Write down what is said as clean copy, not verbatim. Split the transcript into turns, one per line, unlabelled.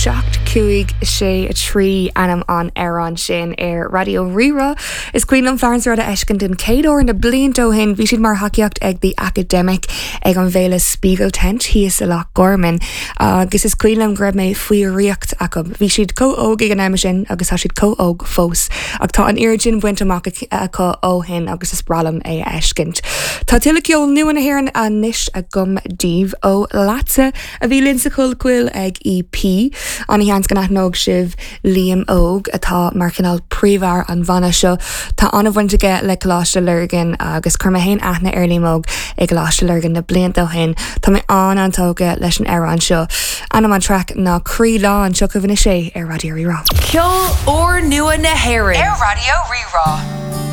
7, 5, 6, 3 ainm an amhráin sin ar Raidió Rí-Rá. Is cuimhin liom Florence Red a fheiscint den chéad uair na blianta ó shin. Bhí siad mar thacaíocht ag The Academic ag an bhféile Spiegeltent thíos i Loch Garman agus is cuimhin liom go raibh mé faoi dhraíocht acu. Bhí siad chomh óg ag an am sin agus tá siad chomh óg fós ach tá an oiread sin bainte amach acu ó shin agus is breá liom é a fheiscint. Tá tuilleadh ceol nua na hÉireann anois agam daoibh ó Leatsa a bhí linn sa Chollchoill ag EP. An-sheans go n-aithneodh sibh Liam Óg atá mar chineál príomhfhear an bhanna seo. Tá an-bhaint aige le Coláiste Lurgan agus chuir mé féin aithne ar Liam Óg i gColáiste Lurgan na blianta ó shin. Tá mé an-an-tógtha leis an amhrán seo. Ainm an traic ná Croí Lán. Seo chugaibh anois é ar Raidió Rí-Rá.
Ceol úrnua na hÉireann
ar Raidió Rí-Rá.